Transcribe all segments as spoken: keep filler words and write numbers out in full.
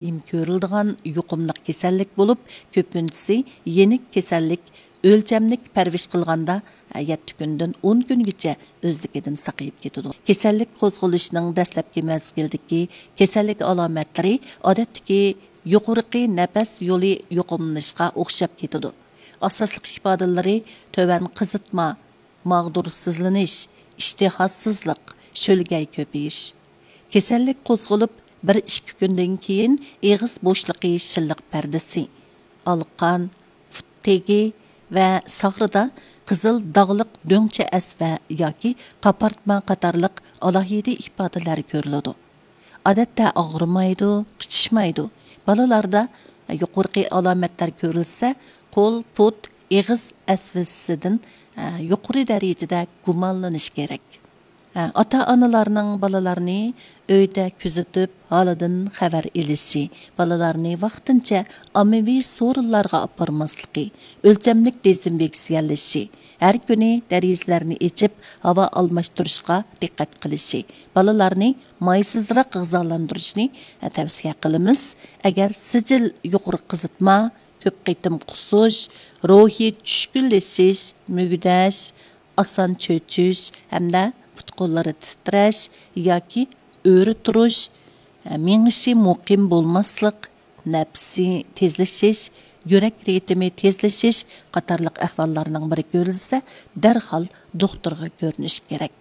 دائىم كۆرۈلىدىغان يۇقۇملۇق كېسەللىك بولۇپ، كۆپىنچىسى يېنىك كېسەللىك، ئۆلچەملىك پەرۋىش قىلغاندا، يەتتە كۈندىن ئون كۈنگىچە ئۆزلۈكىدىن ساقىيىپ كېتىدۇ. كېسەللىك قوزغىلىشىنىڭ دەسلەپكى مەزگىلدىكى كېسەللىك ئالامەتلىرى ئادەتتىكى يۇقىرىقى نەپەس يولى يۇقۇملىنىشقا ئوخشاپ كېتىدۇ. ئاساسلىق ئىپادىلىرى تۆۋەن قىزىتما، ماغدۇرسىزلىنىش، ئىشتىھاسىزلىق، شۆلگەي كۆپىيىش. كېسەللىك قوزغىلىپ، بىر ئىككى كۈندىن كېيىن ئېغىز بوشلۇقى شىللىق پەردىسى، ئالىقان، پۇت تېگى ۋە ساغرىدا قىزىل داغلىق دۆڭچە ئەسۋە ياكى قاپارتما قاتارلىق ئالاھىدە ئىپادىلەر كۆرۈلىدۇ. ئادەتتە ئاغرىمايدۇ، قىچىشمايدۇ. بالىلاردا يۇقىرىقى ئالامەتلەر كۆرۈلسە، قول، پۇت، ئېغىز ئەسۋىسىدىن يۇقىرى دەرىجىدە گۇمانلىنىش كېرەك. ئاتا-ئانىلارنىڭ بالىلارنى ئۆيدە كۆزىتىپ، ھالىدىن خەۋەر ئېلىشى، بالىلارنى ۋاقتىنچە ئاممىۋى سورۇنلارغا ئاپارماسلىقى، ئۆلچەملىك دېزىنفېكسىيەلىشى، ھەر كۈنى دېرىزىلەرنى ئېچىپ، ھاۋا ئالماشتۇرۇشقا دىققەت قىلىشى، بالىلارنى مايسىزراق غىزالاندۇرۇشنى تەۋسىيە قىلىمىز. ئەگەر سىجىل يۇقىرى قىزىتما، كۆپ قېتىم قۇسۇش، روھىي چۈشكۈنلىشىش، مۈگدەش، ئاسان چۆچۈش ھەمدە پۇت-قوللىرى تىترەش ياكى ئۆرە تۇرۇش، مېڭىشى مۇقىم بولماسلىق، نەپىسى تېزلىشىش، يۈرەك رىتىمى تېزلىشىش قاتارلىق ئەھۋاللارنىڭ بىرى كۆرۈلسە، دەرھال دوختۇرغا كۆرۈنۈش كېرەك.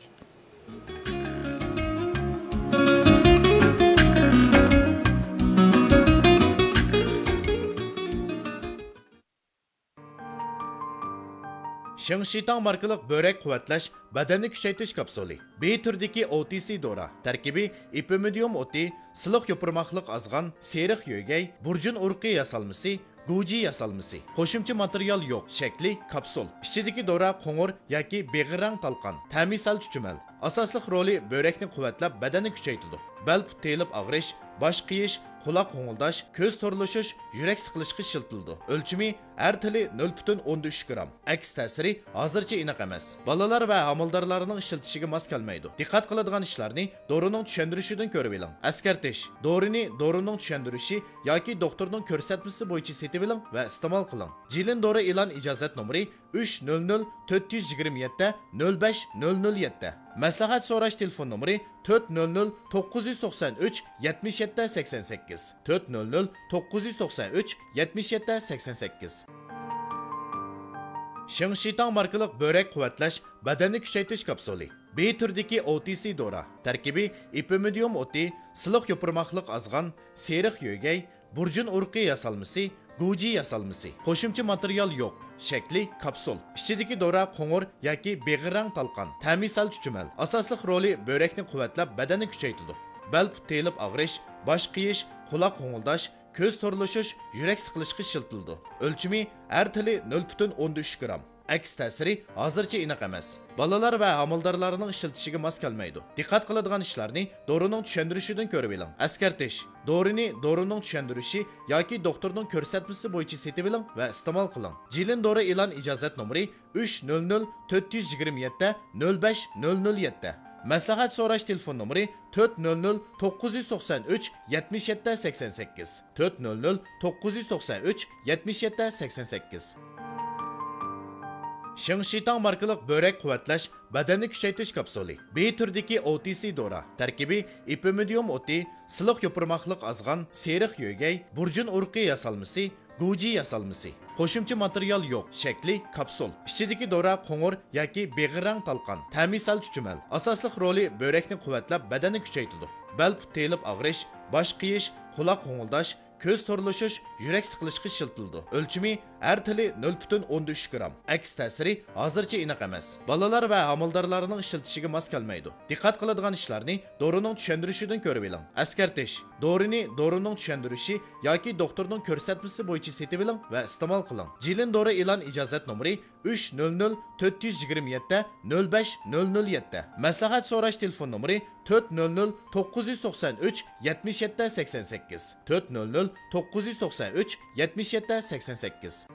شىڭشىتاڭ ماركىلىق بۆرەك قۇۋۋەتلەش بەدەننى كۈچەيتىش كاپسۇلى. بى تۈرىدىكى ئو تى سى دورا. تەركىبى ئېپىمىدىيۇم ئوتى، سىلىق يوپۇرماقلىق ئازغان، سېرىق يۆگەي، بۇرجۇن ئۇرۇقى ياسالمىسى، گۇجى ياسالمىسى. قوشۇمچە ماتېرىيال يوق. شەكلى كاپسۇل. ئىچىدىكى دورا قوڭۇر ياكى بېغىر رەڭ تالقان. تەمى سەل چۈچۈمەل. ئاساسلىق رولى بۆرەكنى قۇۋۋەتلەپ، بەدەننى كۈچەيتىدۇ. بەل پۇت تېيىلىپ ئاغرىش، باش قېيىش، قۇلاق غوڭۇلداش، كۆز تورلىشىش، يۈرەك سىقىلىشقا ئىشلىتىلىدۇ. ئۆلچىمى ئەر تىلى نۆل پۈتۈن ئوندىن ئۈچ گرام. ئەكس تەسىرى ھازىرچە ئېنىق ئەمەس. بالىلار ۋە ھامىلىدارلارنىڭ ئىشلىتىشىگە ماس كەلمەيدۇ. دىققەت قىلىدىغان ئىشلارنى دورىنىڭ چۈشەندۈرۈشىدىن كۆرۈۋېلىڭ. ئەسكەرتىش: دورىنى دورىنىڭ چۈشەندۈرۈشى ياكى دوختۇرنىڭ كۆرسەتمىسى بويىچە سېتىۋېلىڭ ۋە ئىستېمال قىلىڭ. جىلىن دورا ئېلان ئىجازەت نومۇرى ئۈچ نۆل نۆل تۆت يۈز يىگىرمە يەتتە نۆل بەش نۆل نۆل يەتتە. مەسلىھەت سوراش تېلېفون نومۇرى تۆت نۆل نۆل توققۇز يۈز توقسان ئۈچ يەتمىش يەتتە سەكسەن سەككىز، تۆت نۆل نۆل توققۇز يۈز توقسان ئۈچ يەتمىش يەتتە سەكسەن سەككىز. شىڭشىتاڭ ماركىلىق بۆرەك قۇۋۋەتلەش بەدەننى كۈچەيتىش كاپسۇلى. بى تۈرىدىكى ئو تى سى دورا. تەركىبى ئېپىمىدىيۇم ئوتى، سىلىق يوپۇرماقلىق ئازغان، سېرىق يۆگەي، بۇرجۇن ئۇرۇقى ياسالمىسى، گۇجى ياسالمىسى. قوشۇمچە ماتېرىيال يوق. شەكلى كاپسۇل. ئىچىدىكى دورا قوڭۇر ياكى بېغىر رەڭ تالقان. تەمى سەل چۈچۈمەل. ئاساسلىق رولى بۆرەكنى قۇۋۋەتلەپ، بەدەننى كۈچەيتىدۇ. بەل پۇت تېيىلىپ ئاغرىش، باش قېيىش، قۇلاق غوڭۇلداش، كۆز تورلىشىش، يۈرەك سىقىلىشقا ئىشلىتىلىدۇ. ئۆلچىمى ئەر تىلى نۆل پۈتۈن ئوندىن ئۈچ گرام. ئەكس تەسىرى ھازىرچە ئېنىق ئەمەس. بالىلار ۋە ھامىلىدارلارنىڭ ئىشلىتىشىگە ماس كەلمەيدۇ. دىققەت قىلىدىغان ئىشلارنى دورىنىڭ چۈشەندۈرۈشىدىن كۆرۈۋېلىڭ. ئەسكەرتىش: دورىنى دورىنىڭ چۈشەندۈرۈشى ياكى دوختۇرنىڭ كۆرسەتمىسى بويىچە سېتىۋېلىڭ ۋە ئىستېمال قىلىڭ. جىلىن دورا ئېلان ئىجازەت نومۇرى ئۈچ نۆل نۆل تۆت يۈز يىگىرمە يەتتە نۆل بەش نۆل نۆل يەتتە. مەسلىھەت سوراش تېلېفون نومۇرى تۆت نۆل نۆل توققۇز يۈز توقسان ئۈچ يەتمىش يەتتە سەكسەن سەككىز، تۆت نۆل نۆل توققۇز يۈز توقسان ئۈچ يەتمىش يەتتە سەكسەن سەككىز. شىڭشىتاڭ ماركىلىق بۆرەك قۇۋۋەتلەش بەدەننى كۈچەيتىش كاپسۇلى. بى تۈرىدىكى ئو تى سى دورا. تەركىبى ئېپىمىدىيۇم ئوتى، سىلىق يوپۇرماقلىق ئازغان، سېرىق يۆگەي، بۇرجۇن ئۇرۇقى ياسالمىسى، گۇجى ياسالمىسى. قوشۇمچە ماتېرىيال يوق. شەكلى كاپسۇل. ئىچىدىكى دورا قوڭۇر ياكى بېغىر رەڭ تالقان. تەمى سەل چۈچۈمەل. ئاساسلىق رولى بۆرەكنى قۇۋۋەتلەپ، بەدەننى كۈچەيتىدۇ. بەل پۇت تېيىلىپ ئاغرىش، باش قېيىش، قۇلاق غوڭۇلداش، كۆز تورلىشىش، يۈرەك سىقىلىشقا ئىشلىتىلىدۇ. ئۆلچىمى ئەر تىلى نۆل پۈتۈن ئوندىن ئۈچ گرام. ئەكس تەسىرى ھازىرچە ئېنىق ئەمەس. بالىلار ۋە ھامىلىدارلارنىڭ ئىشلىتىشىگە ماس كەلمەيدۇ. دىققەت قىلىدىغان ئىشلارنى دورىنىڭ چۈشەندۈرۈشىدىن كۆرۈۋېلىڭ. ئەسكەرتىش: دورىنى دورىنىڭ چۈشەندۈرۈشى ياكى دوختۇرنىڭ كۆرسەتمىسى بويىچە سېتىۋېلىڭ ۋە ئىستېمال قىلىڭ. جىلىن دورا ئېلان ئىجازەت نومۇرى ئۈچ نۆل نۆل تۆت يۈز يىگىرمە يەتتە نۆل بەش نۆل نۆل يەتتە. مەسلىھەت سوراش تېلېفون نومۇرى تۆت نۆل نۆل توققۇز يۈز توقسان ئۈچ يەتمىش يەتتە سەكسەن سەككىز، تۆت نۆل نۆل توققۇز يۈز توقسان ئۈچ يەتمىش يەتتە سەكسەن سەككىز.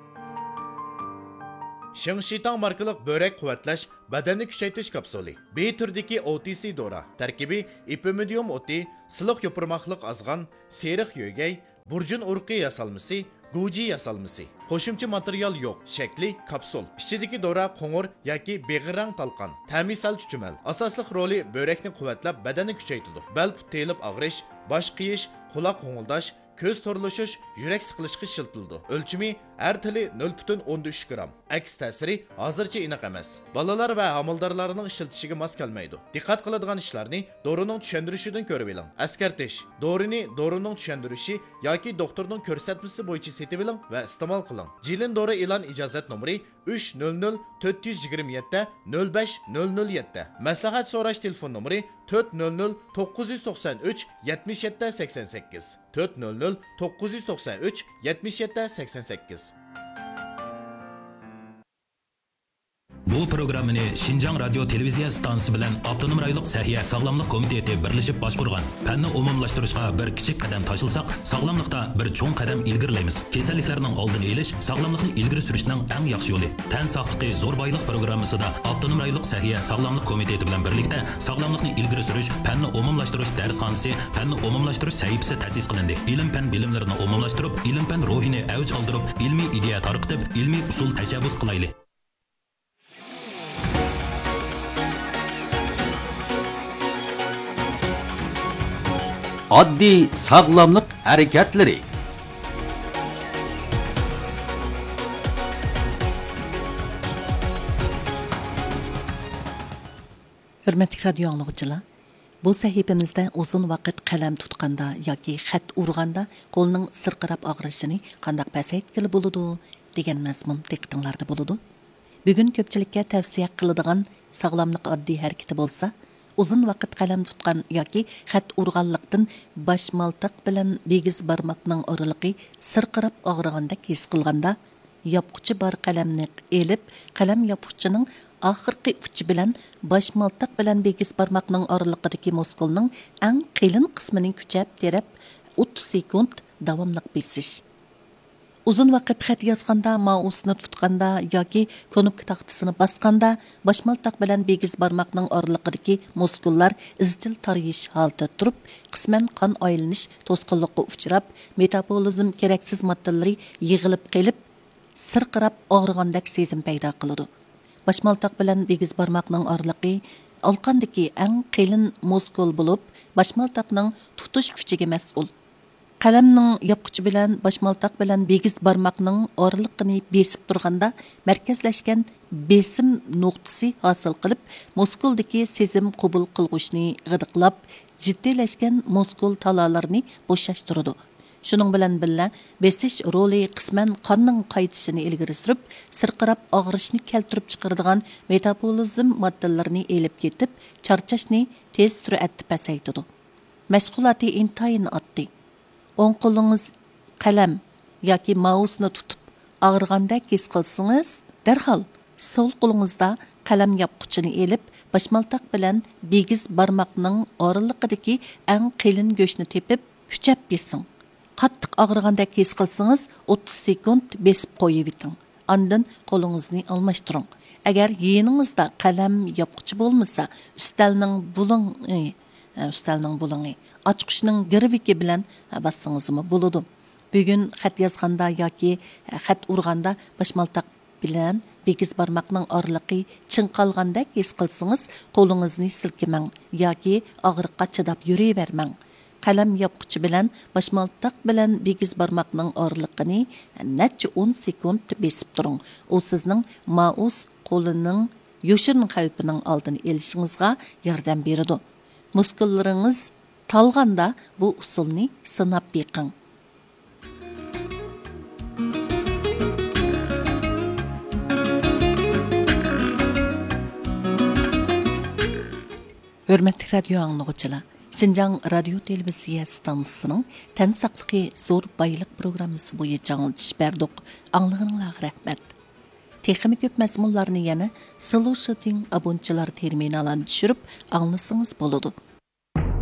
شىڭشىتاڭ ماركىلىق بۆرەك قۇۋۋەتلەش بەدەننى كۈچەيتىش كاپسۇلى. بى تۈرىدىكى ئو تى سى دورا. تەركىبى ئېپىمىدىيۇم ئوتى، سىلىق يوپۇرماقلىق ئازغان، سېرىق يۆگەي، بۇرجۇن ئۇرۇقى ياسالمىسى، گۇجى ياسالمىسى. قوشۇمچە ماتېرىيال يوق، شەكلى كاپسۇل. ئىچىدىكى دورا قوڭۇر ياكى بېغىر رەڭ تالقان. تەمى سەل چۈچۈمەل. ئاساسلىق رولى بۆرەكنى قۇۋۋەتلەپ، بەدەننى كۈچەيتىدۇ. بەل پۇت تېيىلىپ ئاغرىش، باش قېيىش، قۇلاق غوڭۇلداش، كۆز تورلىشىش، يۈرەك سىقىلىشقا ئىشلىتىلىدۇ. ئۆلچىمى: ھەر تېلى نۆل پۈتۈن ئوندىن ئۈچ گرام. ئەكس تەسىرى ھازىرچە ئېنىق ئەمەس. بالىلار ۋە ھامىلىدارلارنىڭ ئىشلىتىشىگە ماس كەلمەيدۇ. دىققەت قىلىدىغان ئىشلارنى دورىنىڭ چۈشەندۈرۈشىدىن كۆرۈۋېلىڭ. ئەسكەرتىش: دورىنى دورىنىڭ چۈشەندۈرۈشى ياكى دوختۇرنىڭ كۆرسەتمىسى بويىچە سېتىۋېلىڭ ۋە ئىستېمال قىلىڭ. جىلىن دورا ئېلان ئىجازەت نومۇرى: ئۈچ نۆل نۆل تۆت يۈز يىگىرمە يەتتە نۆل بەش نۆل نۆل يەتتە. مەسلىھەت سوراش تېلېفون نومۇرى: تۆت نۆل نۆل توققۇز يۈز توقسان ئۈچ يەتمىش يەتتە سەكسەن سەككىز، تۆت نۆل نۆل توققۇز يۈز توقسان ئۈچ يەتمىش يەتتە سەكسەن سەككىز. بۇ پروگراممىنى شىنجاڭ رادىيو تېلېۋىزىيە ئىستانسىسى بىلەن ئاپتونوم رايونلۇق سەھىيە ساغلاملىق كومىتېتى بىرلىشىپ باشقۇرغان. پەننى ئومۇملاشتۇرۇشقا بىر كىچىك قەدەم تاشلىساق، ساغلاملىقتا بىر چوڭ قەدەم ئىلگىرىلەيمىز. كېسەللىكلەرنىڭ ئالدىنى ئېلىش، ساغلاملىقنى ئىلگىرى سۈرۈشنىڭ ئەڭ ياخشى يولى. تەن ساقلىقى زور بايلىق پروگراممىسىدا ئاپتونوم رايونلۇق سەھىيە ساغلاملىق كومىتېتى بىلەن بىرلىكتە ساغلاملىقنى ئىلگىرى سۈرۈش، پەننى ئومۇملاشتۇرۇش دەرسخانىسى، پەننى ئومۇملاشتۇرۇش سەھىپىسى تەسىس قىلىندى. ئىلىم-پەن بىلىملىرىنى ئومۇملاشتۇرۇپ، ئىلىم-پەن روھىنى ئەۋج ئالدۇرۇپ، ئىلمىي ئىدىيە تارقىتىپ، ئىلمىي ئۇسۇل تەشەببۇس قىلايلى. ئاددىي ساغلاملىق ھەرىكەتلىرى. ھۆرمەتلىك رادىيو ئاڭلىغۇچىلار، بۇ سەھىپىمىزدە ئۇزۇن ۋاقىت قەلەم تۇتقاندا ياكى خەت ئۇرغاندا قولنىڭ سىرقىراپ ئاغرىشىنى قانداق پەسەيتكىلى بولىدۇ دېگەن مەزمۇن دىققىتىڭلاردا بولىدۇ. بۈگۈن كۆپچىلىككە تەۋسىيە قىلىدىغان ساغلاملىق ئاددىي ھەرىكىتى بولسا، ئۇزۇن ۋاقىت قەلەم تۇتقان ياكى خەت ئۇرغانلىقتىن باش مالتاق بىلەن بىگىز بارماقنىڭ ئارىلىقى سىرقىراپ ئاغرىغاندەك ھېس قىلغاندا، ياپقۇچى بار قەلەمنى ئېلىپ، قەلەم ياپقۇچىنىڭ ئاخىرقى ئۇچى بىلەن باش مالتاق بىلەن بىگىز بارماقنىڭ ئارىلىقىدىكى مۇسكۇلنىڭ ئەڭ قېلىن قىسمىنى كۈچەپ تىرەپ، ئوتتۇز سېكۇنت داۋاملىق بېسىش. ئۇزۇن ۋاقىت خەت يازغاندا، مائۇسنى تۇتقاندا ياكى كۇنۇپكا تاختىسىنى باسقاندا، باش مالتاق بىلەن بىگىز بارماقنىڭ ئارىلىقىدىكى مۇسكۇللار ئىزچىل تارىيىش ھالىتىدە تۇرۇپ، قىسمەن قان ئايلىنىش توسقۇنلۇقىغا ئۇچراپ، مېتابولىزم كېرەكسىز ماددىلىرى يىغىلىپ قېلىپ، سىرقىراپ ئاغرىغاندەك سېزىم پەيدا قىلىدۇ. باش مالتاق بىلەن بىگىز بارماقنىڭ ئارىلىقى ئالقاندىكى ئەڭ قېلىن مۇسكۇل بولۇپ، باش مالتاقنىڭ تۇتۇش كۈچىگە مەسئۇل. قەلەمنىڭ ياپقۇچى بىلەن باش مالتاق بىلەن بىگىز بارماقنىڭ ئارىلىقىنى بېسىپ تۇرغاندا مەركەزلەشكەن بېسىم نۇقتىسى ھاسىل قىلىپ، مۇسكۇلدىكى سېزىم قوبۇل قىلغۇچنى غىدىقلاپ، جىددىيلەشكەن مۇسكۇل تالالىرىنى بوشاشتۇرىدۇ. شۇنىڭ بىلەن بىللە، بېسىش رولى قىسمەن قاننىڭ قايتىشىنى ئىلگىرى سۈرۈپ، سىرقىراپ ئاغرىشنى كەلتۈرۈپ چىقىرىدىغان مېتابولىزم ماددىلىرىنى ئېلىپ كېتىپ، چارچاشنى تېز سۈرئەتتە پەسەيتىدۇ. مەشغۇلاتى ئىنتايىن ئاددىي. ئوڭ قولىڭىز قەلەم ياكى مائۇسنى تۇتۇپ ئاغرىغاندەك ھېس قىلسىڭىز، دەرھال سول قولىڭىزدا قەلەم ياپقۇچىنى ئېلىپ، باشمالتاق بىلەن بىگىز بارماقنىڭ ئارىلىقىدىكى ئەڭ قېلىن گۆشنى تېپىپ، كۈچەپ بېسىڭ. قاتتىق ئاغرىغاندەك ھېس قىلسىڭىز، ئوتتۇز سېكۇنت بېسىپ قويۇۋېتىڭ. ئاندىن قولىڭىزنى ئالماشتۇرۇڭ. ئەگەر يېنىڭىزدا قەلەم ياپقۇچى بولمىسا، ئۈستەلنىڭ بۇلۇڭى، ئۈستەلنىڭ بۇلۇڭى، ئاچقۇچنىڭ گىرۋىكى بىلەن باسسىڭىزمۇ بولىدۇ. بۈگۈن خەت يازغاندا ياكى خەت ئۇرغاندا باشمالتاق بىلەن بىگىز بارماقنىڭ ئارىلىقى چىڭقالغاندەك ھېس قىلسىڭىز، قولىڭىزنى سىلكىمەڭ ياكى ئاغرىققا چىداپ يۈرۈۋەرمەڭ. قەلەم ياپقۇچى بىلەن باشمالتاق بىلەن بىگىز بارماقنىڭ ئارىلىقىنى نەچچە ئون سېكۇنت بېسىپ تۇرۇڭ. ئۇ سىزنىڭ مائۇس قولىنىڭ يوشۇرۇن خەۋپىنىڭ ئالدىنى ئېلىشىڭىزغا ياردەم بېرىدۇ. مۇسكۇللىرىڭىز تالغاندا بۇ ئۇسۇلنى سىناپ بېقىڭ. ھۆرمەتلىك رادىيو ئاڭلىغۇچىلار، شىنجاڭ رادىيو تېلېۋىزىيە ئىستانسىسىنىڭ تەن ساقلىقى زور بايلىق پروگراممىسى بويىچە ئاڭلىتىش بەردۇق. ئاڭلىغىنىڭلارغا رەھمەت. تېخىمۇ كۆپ مەزمۇنلارنى يەنە سلوشىتىڭ ئابونتچىلار تېرمىنالىنى چۈشۈرۈپ ئاڭلىسىڭىز بولىدۇ.